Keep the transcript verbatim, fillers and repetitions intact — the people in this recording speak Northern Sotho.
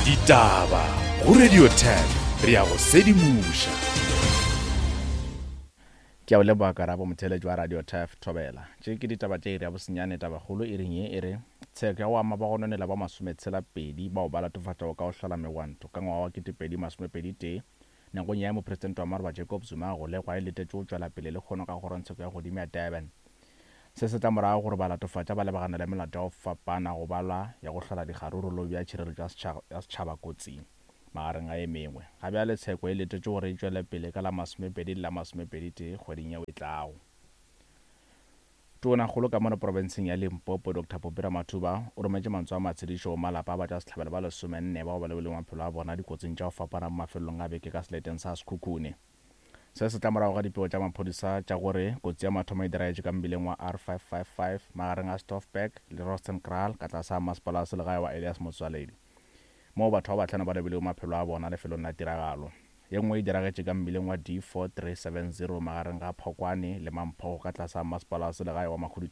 Ditaba go Radio ten re ya go sedimoša. Ke a o leboga Karabo, motheeletši wa Radio Turf Thobela. Tše ke ditaba tša iri ya bosenyane. Tabakgolo iring ye e re tsheko ya go ama bagononela ba masometshela pedi bao ba latofatšwago ka go hlola megwanto ka ngwaga wa ketepedi masomepedi tee nakong ya mopresidente wa maroba Jacob Zuma a golegwa e letetše go tšwela pele lehono ka kgorongtsheko ya godimo ya Durban. Se se tla morago gore balatofatša ba lebagane le melato ya go fapana go balwa ya go hlola dikgaruru le go bea tšhireletšo ya setšhaba kotsing, magareng a e mengwe. Ga bjale tsheko e letetše gore e tšwele pele ka la masomepedi le la masomepedi tee kgweding yeo e tlago. Tonakgolo ka mono profenseng ya Limpopo Doctor Phophi Ramathuba o rometše mantswe a matshedišo go malapa a batšwasehlabelo ba lesomenne bao ba lebilego maphelo a bona dikotsing tša go fapana mo mafelelong a beke ka seleteng sa Sekhukhune. Se se tla morago ga dipego tša maphodisa tša gore kotsi ya mathomo e diragetše ka mmileng wa R five five five magareng a Stoffberg le Rostenkraal ka tlase ga masepala wa selegae wa Elias Motsoaledi, moo batho ba bahlano ba lebilego maphelo a bona lefelong la tiragalo. Ye nngwe e diragetše ka mmileng wa D four three seven zero magareng ga Phokwane le Mamphogo ka tlase ga masepala wa selegae wa Makhudu.